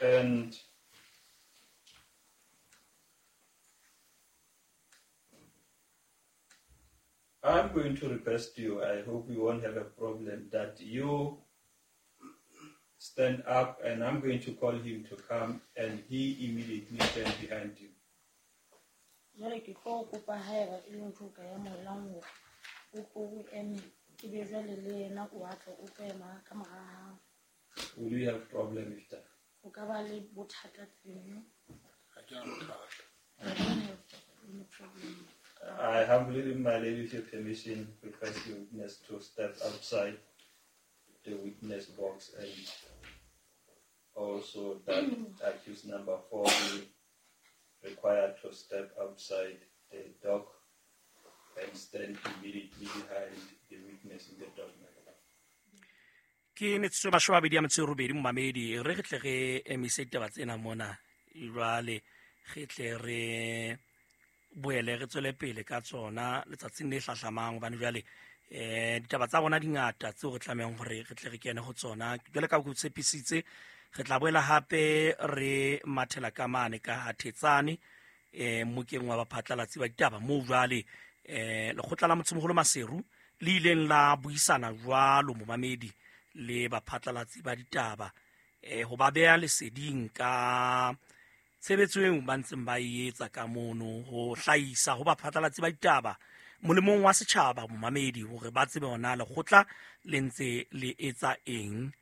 And I'm going to request you, I hope you won't have a problem, that you stand up and I'm going to call him to come and he immediately stand behind you. Jwale ke tlo kopa haeba e le ntho o ka amohelang hore o tlo o eme, ke be jwale le yena o atle o tlo ema ka mora hao. Will you have problem with that? O ka ba le bothata teng? Ha ke na bothata. I don't have any problem. I humbly, my lady, with your permission, request the witness to step outside the witness box and also that accused number 4 be required to step outside the dock and stand immediately behind the witness in the dock. Ke metsotso e 28 momamedi, re tle re emise ditaba tsena mona jwale, re tle re boele re tswele pele ka tsona letsatsing le hlahlamang, hobane jwale ditaba tsa rona di ngata tseo re tlamehang hore re tle re kene ho tsona. Jwale ka ho tshepisitse, re tla boela hape re mathela ka mane ka Thetsane, mokeng wa baphatlalatsi ba ditaba moo jwale lekgotla la Motsemoholo Maseru le ileng la buisana jwalo momamedi le baphatlalatsi ba ditaba, ho ba beha leseding ka tshebetso eo ba ntseng ba e etsa ka mono, ho hlahisa ho baphatlalatsi ba ditaba molemong wa setjhaba momamedi, hore ba tsebe hore na lekgotla le ntse le etsa eng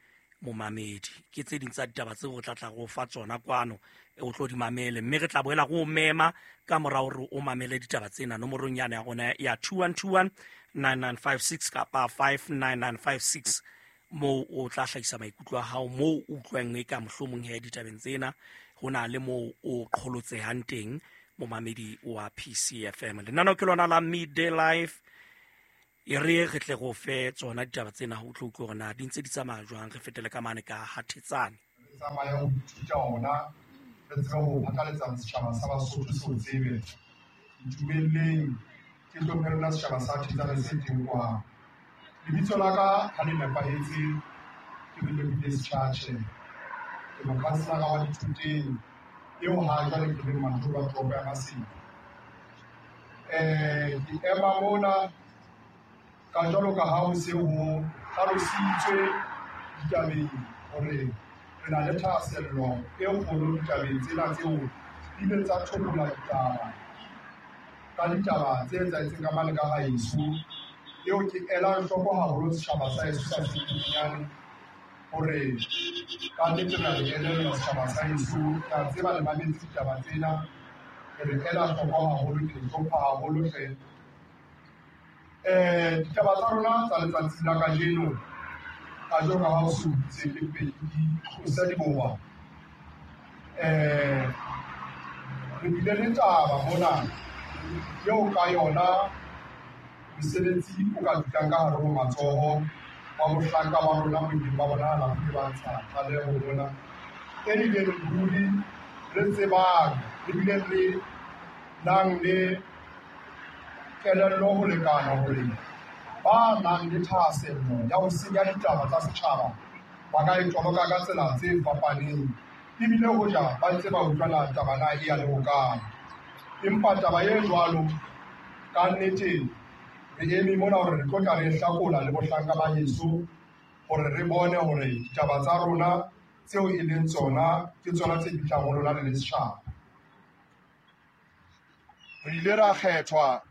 momamedi. Ke tse ding tsa ditaba tseo re tla tla re o fa tsona kwano, o tlo di mamele, mme re tla boela re o mema ka mora hore o mamele ditaba tsena nomorong yane ya rona ya 2121 9956 kapa 59956, moo o tla hlahisa maikutlo a hao, moo o utlwang e ka mohlomong he ditabeng tsena ho na le moo o qholotsehang teng momamedi wa PCFM. Lenaneo ke lona la Midday Life, e re re tle go fe tsona ditaba tsena ho tlo utlwa hore na di ntse di tsamaya jwang. Re fetele ka mane ka Hathetsane. Re tsamaya ho ithuta ona, re tsebe ho phatlalatsa setjhaba sa Basotho se o tsebe. Ntumelleng ke hlomphe lona setjhaba sa Thetsane se teng kwano. Lebitso la ka ha le nepahetse ke Relebile Setjhatjhe. Ke mokhanselara wa Dithoteng eo ha jwale ke leng majoro a toropo ya Maseru. Ke ema mona ka jwalo ka ha ho se ho hlalositswe ditabeng hore re na le thahasello e kgolo ditabeng tsena tseo di ileng tsa thobola ditaba ka ditaba tse etsahetseng ka mane ka haeso, eo ke elang hloko haholo setjhaba sa heso sa Setunyane, hore ka nnete re a le elellwa setjhaba sa heso, ke a tseba le mametse ditaba tsena, re le ela hloko haholo, ke le hlompha haholo hle. Ditaba tsa rona tsa letsatsi la kajeno, ka jwalo ka ha ho se ho itse ke pedi tlosa diboa. Re bile le taba mona eo ka yona mosebetsi o ka dutlang ka hare ho matsoho wa mohlanka wa rona bo ileng ba bonahala ho ile ba ntsha tlaleho mona, e bileng ruri re tsebang, re bileng re nang le kelello ho lekana hore ba nang le thahasello ya ho senya ditaba tsa setjhaba ba ka e toloka ka tsela tse fapaneng, ebile hoja ba ntse ba utlwana taba na e ya le hokae. Empa taba e jwalo ka nnete re eme mona hore re tlo tla re hlakola le bohlanka ba heso hore re bone hore ditaba tsa rona tseo e leng tsona ke tsona tse fihlang ho lona le le setjhaba. Re ile ra kgethwa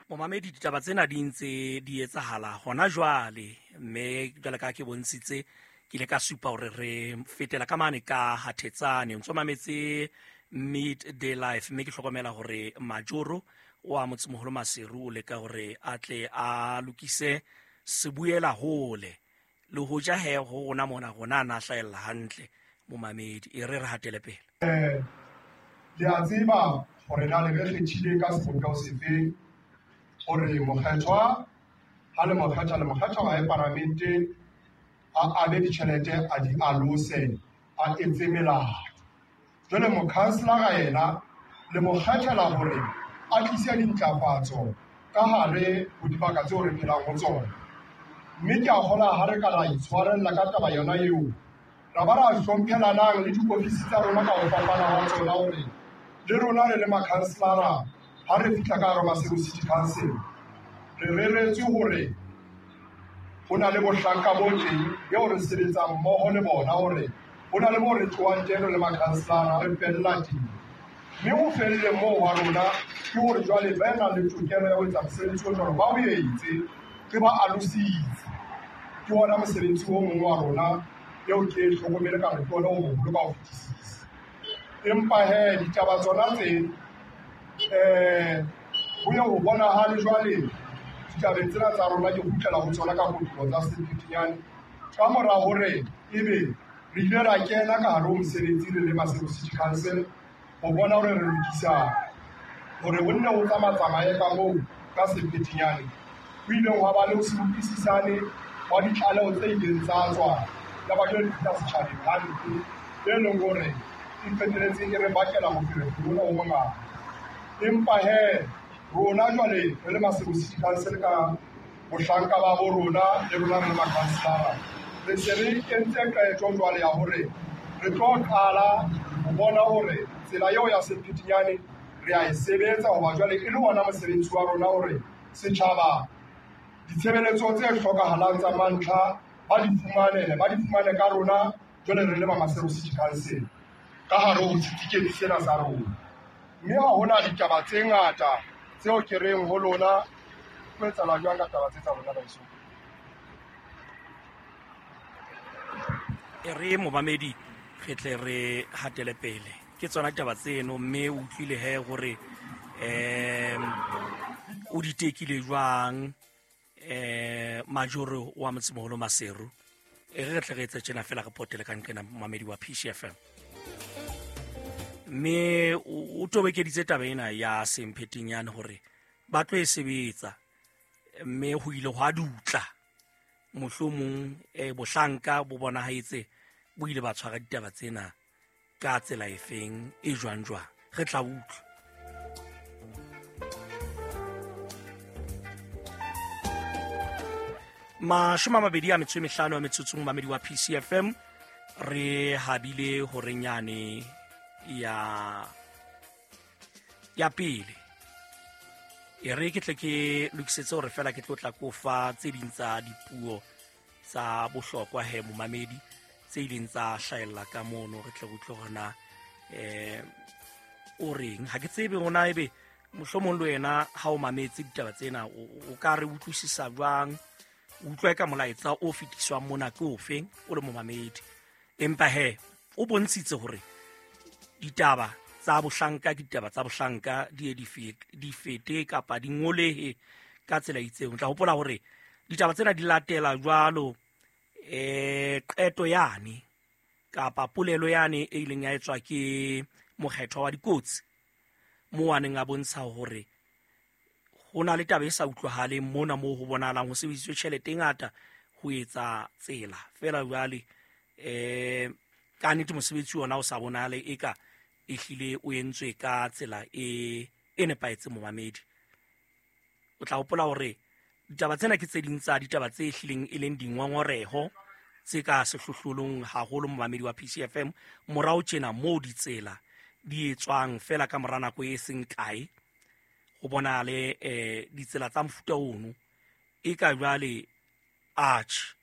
momamedi, ditaba tsena di ntse di etsahala hona jwale, mme jwale ka ke bontshitse, ke ile ka supa hore re fetela ka mane ka Hathetsane. Ntso mametse Midday Life, mme ke hlokomela hore majoro wa Motsemoholo Maseru o leka hore a tle a lokise sebuela hole le hoja he ho rona mona rona a na hlahella hantle momamedi. E re re hatele pele. Le a tseba hore na le re kgethile ka sebopeho sefe hore mokgethwa ha le mokgethwa le mokgethwa wa paramente a abe ditjhelete a di alose a etse melato. Jwale mokhanselara yena le mo kgethela hore a a tlise dintlafatso ka hare ho dibaka tseo re phelang ho tsona. Mme ke a kgolwa ha re ka ra itshwarella ka taba yona eo, ra ba ra hlomphelanang le diofisi tsa rona ka ho fapana ha tsona hore le rona re le makhanselara ha re fihla ka hare Maseru City Council, re reretswe hore ho na le bohlanka bo teng eo re sebetsang mmoho le bona hore ho na le moo re tlohang teng re le makhanselara re fella teng. Mme ho felleng moo wa rona ke hore jwale ba nang le tokelo ya ho etsa mosebetsi o jwalo ba o etse, re ba alositse. Ke ona mosebetsi o mong wa rona eo ke e hlokomele ka re ke ona o moholo ka ho fetisisa. Empa he ditaba tsona tse ho ye ho bonahale jwale ditabeng tsena tsa rona ke kgutlela ho tsona ka kotulo tsa Semphetinyane ka mora hore ebe re ile ra kena ka hare ho mosebetsi re le Maseru City Council ho bona hore re lokisa hore ho nne ho tsamatsamaye ka moo ka Semphetinyane. Ho ileng hwa ba le ho se utlwisisane wa ditlaleho tse ileng tsa tswa ya ba jwale di fihla setjhabeng hampe, e leng hore e qetelletse e re bakela moferefere ona o mongata. Empa he rona jwale re le Maseru City Council ka bohlanka ba bo rona le rona re le makhanselara, re se re entse qeto jwale ya hore re tlo qala ho bona hore tsela eo ya Semphetinyane re a e sebetsa, hoba jwale e le ona mosebetsi wa rona hore setjhaba ditshebeletso tse hlokahalang tsa mantlha ba di fumane, ba di fumane ka rona jwale re le ba Maseru City Council ka hare ho setifikeiti sena sa rona. Mme ha hona ditaba tse ngata tseo ke reng ho lona ho etsahala jwang ka taba tse tsa rona baeso. E re momamedi re tle re hatele pele ke tsona ditaba tseno, mme o utlwile he hore o di tekile jwang majoro wa motsemoholo Maseru. E re tle re etse tjena fela re potele ka nqena momamedi wa PCFM. Mme o tobekeditse taba ena ya Semphetinyane hore ba tlo e sebetsa, mme ho ile hwa dutla mohlomong bohlanka bo bonahetse bo ile ba tshwara ditaba tsena ka tsela efeng e jwang jwang. Re tla utlwa. Mashome a mabedi a metso e mehlano a metsotso momamedi wa PCFM, re habile horenyane ya pele. E re ke tle ke lokisetse hore fela ke tlo tla kofa tse ding tsa dipuo tsa bohlokwa he momamedi tse ileng tsa hlahella ka mono, re tle re utlwe hore na o reng. Ha ke tsebe hona ebe mohlomong le wena ha o mametse ditaba tsena o ka re utlwisisa jwang, o utlwe ka molaetsa o fetiswang mona ke ofeng o le momamedi. Empa he o bontshitse hore ditaba tsa bohlanka ke ditaba tsa bohlanka di ye di fete kapa di ngolehe ka tsela e itseng. O tla hopola hore ditaba tsena di latela jwalo qeto yane kapa polelo yane e ileng ya etswa ke mokgethwa wa dikotsi moo a neng a bontsha hore ho na le taba e sa utlwahaleng mona moo ho bonahalang ho sebedisitswe tjhelete e ngata ho etsa tsela fela jwale ka nnete mosebetsi ona o sa bonahale eka ehlile o entswe ka tsela e nepahetseng momamedi. O tla hopola hore ditaba tsena ke tse ding tsa ditaba tse ehlileng e leng dingongoreho tse ka sehlohlolong haholo momamedi wa PCFM morao tjena moo ditsela di etswang fela ka mora nako e seng kae ho bonahale ditsela tsa mofuta ono e ka jwale arch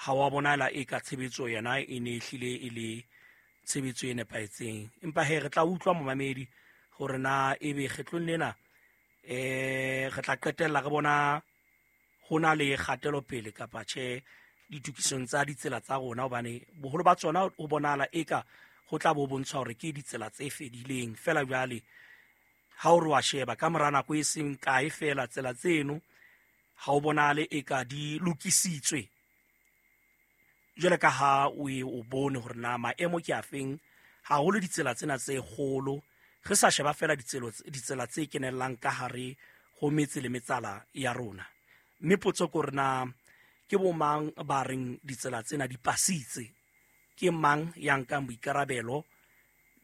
ha wa bonahala e ka tshebetso yona e ne ehlile e le tshebetso e nepahetseng. Empa he re tla utlwa momamedi hore na ebe kgetlong lena re tla qetella re bona ho na le kgatelopele kapa tjhe ditokisong tsa ditsela tsa rona, hobane boholo ba tsona ho bonahala eka ho tla bo bontshwa hore ke ditsela tse fedileng fela. Jwale ha o re wa sheba ka mora nako e seng kae fela tsela tseno ha o bonahale eka di lokisitswe jwale ka ha o e o bone hore na maemo ke afeng haholo ditsela tsena tse kgolo, re sa sheba fela ditsela tse kenellang ka hare ho metse le metsala ya rona. Mme potso ke hore na ke bo mang ba reng ditsela tsena di pasitse, ke mang ya nkang boikarabelo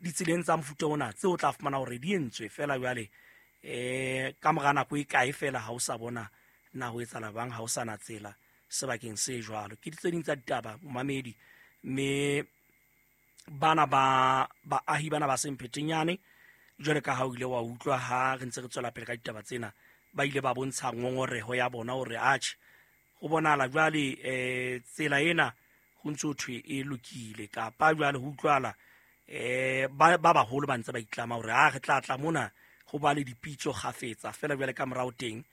ditseleng tsa mofuta ona tseo o tla fumana hore di entswe fela jwale Ka mora nako e kae fela ha o sa bona na ho etsahala bang, ha o sa na tsela sebakeng se jwalo. Ke tse ding tsa ditaba, momamedi, mme bana ba baahi bana ba Semphetenyane, jwale ka ha o ile wa utlwa ha re ntse re tswela pele ka ditaba tsena, ba ile ba bontsha ngongoreho ya bona hore atjhe, ho bonahala jwale tsela ena ho ntse ho thwe e lokile, kapa jwale ho utlwala ba baholo ba ntse ba itlama hore ha re tla tla mona ho ba le dipitso kgafetsa fela. Jwale ka morao teng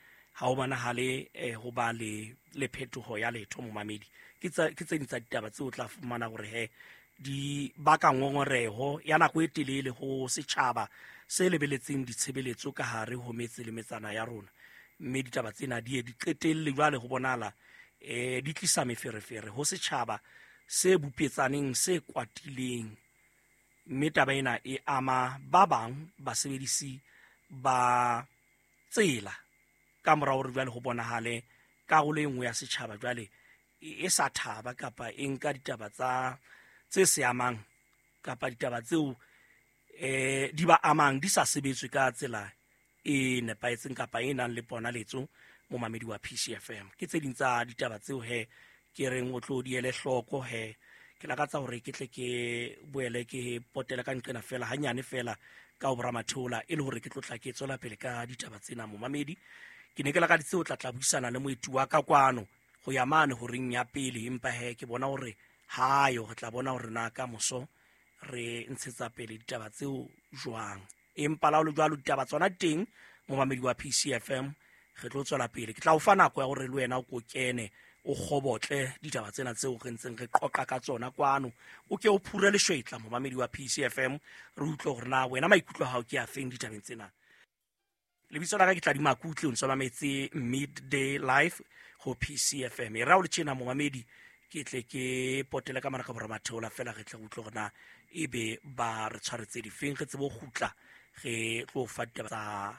ha ho bonahale ho ba le phetoho ya letho, momamedi. Ke tse ding tsa ditaba tseo o tla fumana hore he di baka ngongoreho ya nako e telele ho setjhaba se lebeletseng ditshebeletso ka hare ho metse le metsana ya rona. Mme ditaba tsena di ye di qetelle jwale ho bonahala di tlisa meferefere ho setjhaba se bupetsaneng, se kwatileng. Mme taba ena e ama ba bang basebedisi ba tsela ka mora hore jwale ho bonahale karolo e nngwe ya setjhaba jwale e sa thaba kapa e nka ditaba tsa tse se amang kapa ditaba tseo di ba amang di sa sebetswe ka tsela e nepahetseng kapa e nang le ponaletso, momamedi wa PCFM. Ke tse ding tsa ditaba tseo he ke reng o tlo di ele hloko. He ke lakatsa hore ke tle ke boele ke potele ka nqena fela hanyane fela ka ho boramatheola, e le hore ke tlo tla ke tswela pele ka ditaba tsena, momamedi. Ke ne ke lakaditse ho tla buisana le moeti wa ka kwano ho ya mane horeng ya pele, empa he ke bona hore hayo re tla bona hore na ka moso re ntshetsa pele ditaba tseo jwang. Empa la ho le jwalo, ditaba tsona teng, momamedi wa PCFM, re tlo tswela pele. Ke tla o fa nako ya hore le wena o ko kene o kgobotle ditaba tsena tseo re ntseng re qoqa ka tsona kwano, o ke o phure leshwetla, momamedi wa PCFM, re utlwe hore na wena maikutlo a hao ke a feng ditabeng tsena. Lebitso la ka ke Tladi Makutle, o ntse o mametse Midday Live ho PCFM. E ra o le tjena, momamedi, ke tle ke potele ka mara ka boramatheola fela, re tle re utlwe hore na ebe ba re tshwaretse difeng, re tsebe ho kgutla re tlo fa ditaba tsa